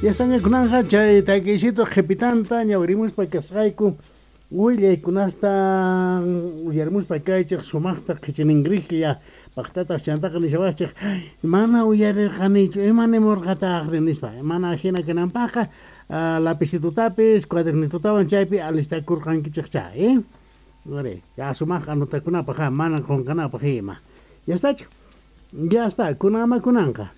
Yastaña kunanqa chay takiysito qhipitanta ñawirimuspa kasqayku willaykunasta uyarimuspa kaychej sumajta qhichiningriklla pajtataq chantaqa nishawachej mana uyarirqanichu ima nimurqataqri nispa mana hina kananpaqqa lapicitutapis cuadernitutawan chaypi alistakurqankichej chay Are, ya sumaq anotakunapaq mana qunqanapaq ima. Ya estachu? Ya está, kunama kunanqa.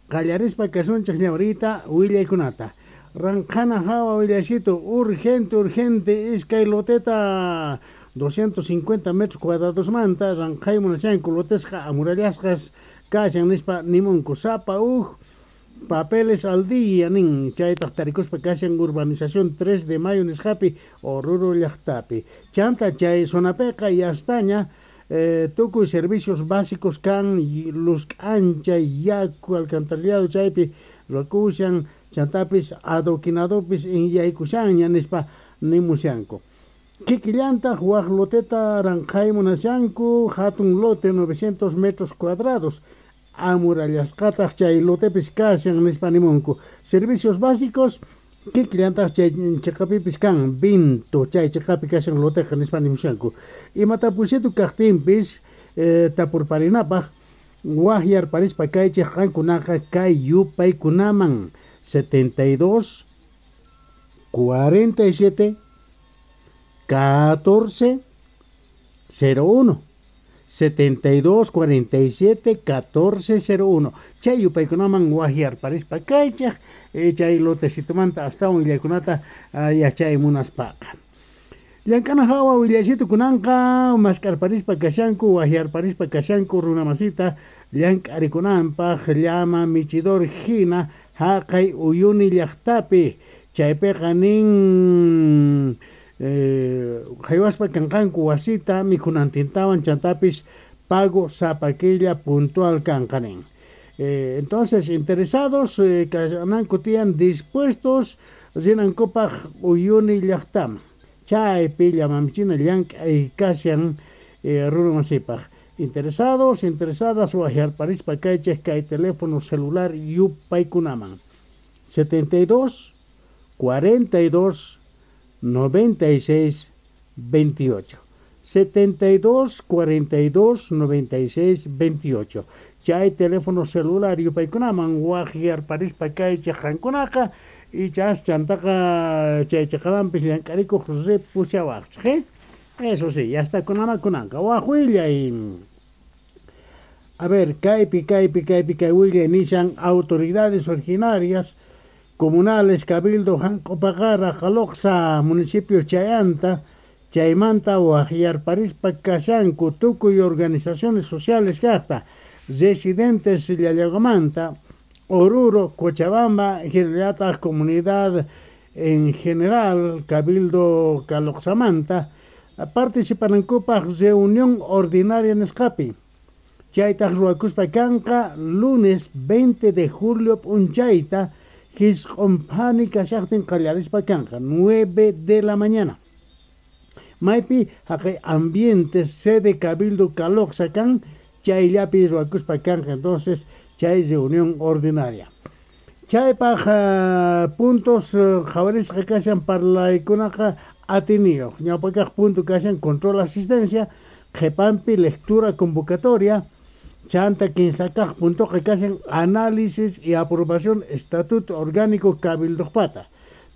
Qallarispa kasunchik ñawrita willaykunata. Ranqhana hawa willaysitu urgente, urgente iskay loteta 250 metros cuadradosmanta ranqhay munashanku lotesqa amurallasqas kashan nispa nimunku sapa uj papeles al día nin chaytaq tarikuspa kashan urbanización 3 de mayo nisqapi Oruro llaqtapi. Chanta chay zonapiqa yastaña tukuy servicios básicos kan luz k'ancha yaku alcantarillado chaypi ruwakushan chantapis adoquinadopis inyaykushanña nispa nimushanku. Kikillantaq waj loteta ranqhay munashanku hatun lote 900 metros cuadrados amurallasqataq chay lotepis kashan nispa nimunku. Servicios básicos kikillantaq chay chiqapipis kan vinto chay chiqapi kashan loteqa nispa nimushanku. Imatapusitu kaqtinpis tapurparinapaq wajyarparispa kaychik qankunaqa kay yupaykunaman 72 47 14 01 72 47 14 01 chay yupaykunaman wajyarparispa kaychik chay lotecitomanta astawan willaykunata yachay munaspaqa. Llank'ana hawa willaysitu kunanqa mask'arparispa kashanku wajyarparispa kashanku runamasita llank'arikunanpaq llama michidor hina haqay Uyuni llaqtapi chaypiqa nin haywaspa kanqanku wasita mikhunantintawan chantapis pago sapa killa puntual kanqa nin. Entonces interesados kananku tiyan dispuestos rinankupaq Uyuni llaqtaman chaypi llamamichina llank'ay kashan runamasipaq. Interesados, interesadas wajyarparispa kaychik kay teléfono celular yupaykunaman 72 42 96 28 72 42 96 28 chay teléfono celular yupaykunaman wajyarparispa kaychik qankunaqa ichas chantaqa chay chiqamanpis llank'arikuq ripushawaqchik. Eso sí, ya está kunama kunanqa waj willay. A ver, kaypi, kaypi, kaypi, kay willay nishan autoridades originarias comunales Cabildo Janq'upaqara Qaloqsa municipio Chayanta chaymanta wajyarparispa kashanku tukuy organizaciones sociales kaqta residentes Llallagamanta Oruro, Cochabamba, hinallataq comunidad en general Cabildo Caloqsamanta participanankupaq reunión ordinaria nisqapi chaytaq ruwakuspa kanqa lunes 20 de julio p'unchayta hisq'unphani kashaqtin qallarispa kanqa 9 de la mañana. Maypi haqay ambiente sede Cabildo Caloqsa kan chayllapi ruwakuspa kanqa entonces chay reunión ordinaria. Chaypaq puntos qhawarisqa kashan parlaykunaqa atiniyuq ñawpakaq punto kashan control asistencia qhipanpi lectura convocatoria chanta kinsakaq puntoqa kashan análisis y aprobación estatuto orgánico cabildoqpata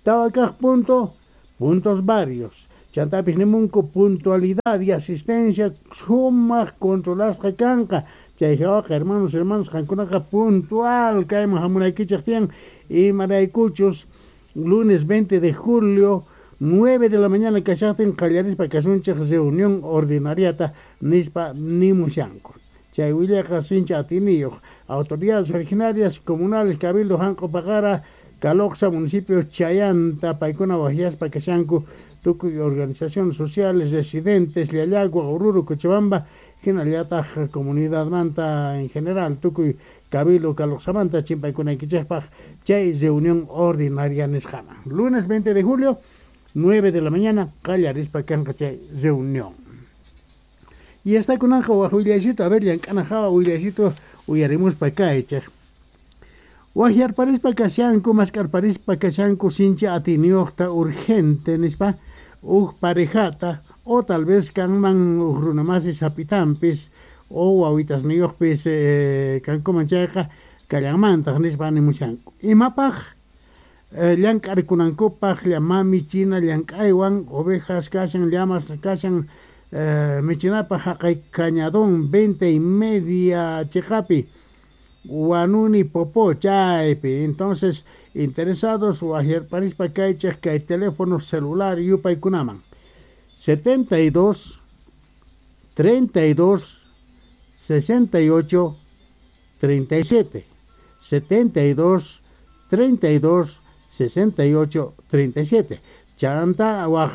tawakaq punto puntos varios chantapis nimunku puntualidad y asistencia sumaq controlasqa kanqa chay hawaqa hermanos hermanos qankunaqa puntual kayman hamunaykichik tiyan imaraykuchus lunes 20 de julio 9 de la mañana kashaqtin qallarispa kasunchik reunión ordinariata nispa nimushanku. Chay willaqa sincha atiniyuq autoridades originarias comunales Cabildo Janq'upaqara Caloqsa municipio Chayanta paykuna wajyaspa kashanku tukuy organizaciones sociales residentes Llallagua, Oruro, Cochabamba hinallataq comunidadmanta en general tukuy Cabildo Caloqsamanta chimpaykunaykichikpaq chay reunión ordinaria nisqaman. Lunes 20 de julio 9 de la mañana qallarispa kanqa chay reunión. Y está kunanqa waj willaysitu, a ver, llank'ana hawa willaysitu uyarimuspa kaychik. Wajyarparispa kashanku, mask'arparispa kashanku sinchi atiyniyuqta urgente nispa uj parejata o tal vez kanman uj runamasi sapitanpis o wawitasniyuqpis kankuman chayqa kallanmantaq nispa nimushanku. Imapaq llank'arikunankupaq llama michina llank'aywan ovejas kashan, llamas kashan michinapaq haqay Cañadón 20:30 chiqapi Huanuni Popó chaypi. Entonces interesados wajyarparispa kaychej kay teléfono celular yupaykunaman 72 32 68 37 72 32 68 37. Chanta waj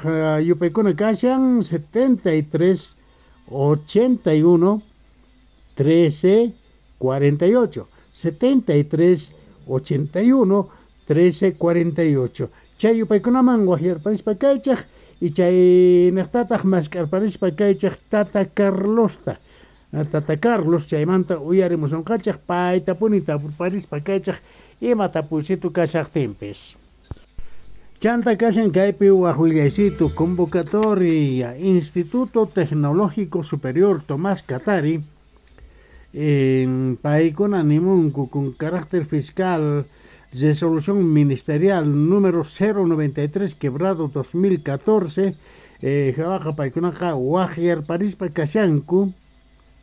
yupaykuna kashan 73 81 13 48 73 81 13 48. Chay yupaykunaman wajyarparispa kaychej y chay niqtataq mask'arparispa kaychej Tata Carlosta. Tata Carlos chaymanta uyarimusunqachej paytapuni tapurparispa kaychej ima tapuysitu kashaqtinpis. Chanta kashan kaypi waj willaysitu convocatoria Instituto Tecnológico Superior Tomás Katari paykuna nimunku con carácter fiscal resolución ministerial número 093 quebrado 2014 jawaqa paykunaqa wajyarparispa kashanku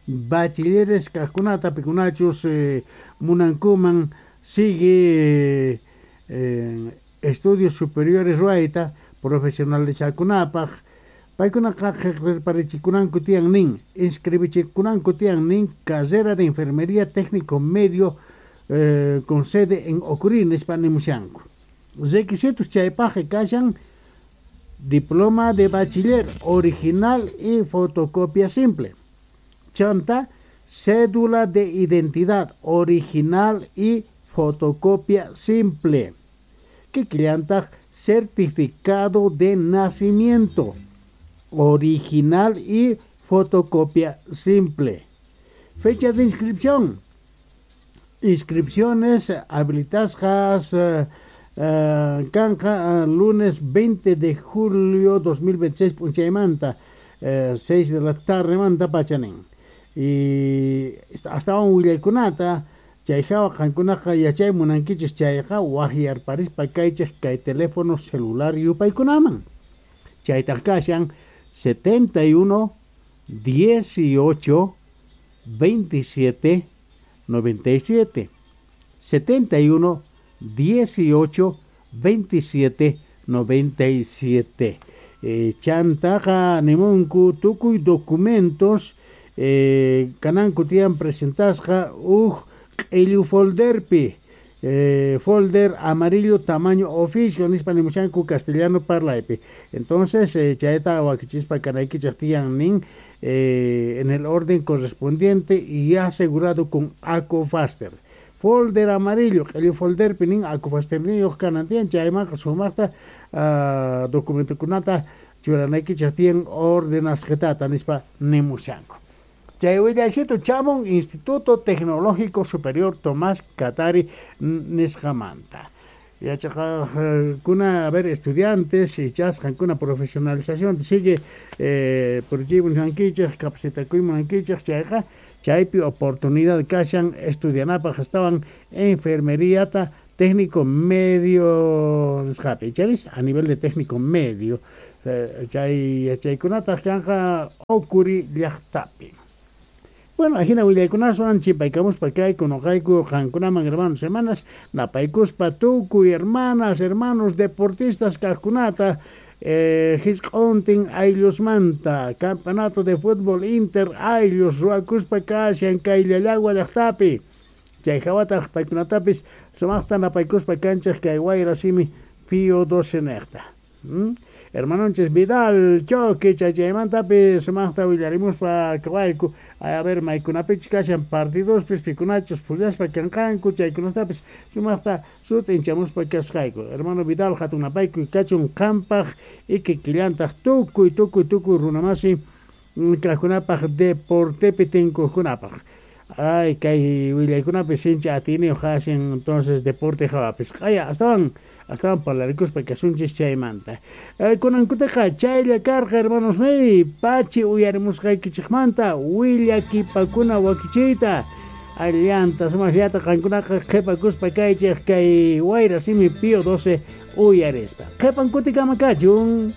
bachilleres kajkunata pikunachus munankuman sigue estudios superiores ruwayta profesionalizakunapaq paykunaqa qillqarparichikunanku tiyan nin inscribichikunanku tiyan nin carrera de enfermería técnico medio con sede en Ocurí nispa nimushanku. Requisitos chaypaqqa kashan diploma de bachiller original y fotocopia simple. Chanta cédula de identidad original y fotocopia simple. Kikillantaq certificado de nacimiento original y fotocopia simple. Fecha de inscripción. Inscripciones habilitasqas kanqa lunes 20 de julio 2026 p'unchaymanta 6 de la tarde manta pachanin. Y astawan willaykunata chay hawa qankunaqa yachay munankichis chayqa wajyarparispa kaychej kay teléfono celular yupaykunaman. Chaytaq kashan 71 18 27 97 71 18 27 97. Chantaqa nimunku tukuy documentos kananku tiyan presentasqa uj q'illu folderpi folder amarillo tamaño oficio nispa nimushanku castellano parlaypi. Entonces chayta wakichispa kanaykichej tiyan nin en el orden correspondiente y asegurado con Acofaster. Folder amarillo, q'illu folderpi nin Acofaster niyuq kanan tiyan chaymanqa sumaqta documentokunata churanaykichej tiyan ordenasqitata nispa nimushanku. Chay willaysitu chamun Instituto Tecnológico Superior Tomás Katari nisqamanta. Yachaqajkuna, a ver, estudiantes ichas qankuna profesionalización sigue purichiy munankichej capacitakuy munankichej chayqa chaypi oportunidad kashan estudianapaq astawan enfermeriata técnico medio nisqapi chaypis a nivel de técnico medio chay yachaykunataq kanqa Ocurí llaqtapi. Bueno, ajina willaykunaswan chimpaykamuspa kayku noqayku qankunaman hermanos hermanas napaykuspa tukuy hermanas hermanos deportistas kajkunata hisq'untin ayllusmanta campeonato de fútbol inter ayllus ruwakuspa kashan kay Llallagua llaqtapi. Chay hawataq paykunatapis sumaqta napaykuspa kanchej kay wayra simi Pío 12 niqta. Hermanonchis Vidal Choque chaymantapis sumaqta willarimuspa kawayku a ver maykunapichus kashan partidospis pikunachus pullaspa kanqanku chaykunatapis sumaqta sut'inchamuspa kasqayku. Hermano Vidal hatun napaykuy kachun qampaq y kikillantaq tukuy tukuy tukuy runamasi kajkunapaq deportepi tinkuqkunapaq. Ay, kay willaykunapi sinchi atiyniyuq kashan, entonces deporte hawapis. Q'aya astawan astawan parlarikuspa kasunchis chaymanta. Kunankutaqa chaylla karqa, hermanosniy, pachi uyarimusqaykichikmanta willakipakuna wakichiyta. Allanta sumaqllata qankunaqa qhipakuspa kaychik kay Wayra Simi Pío 12 uyarispa. Qhipan kutikama kachun.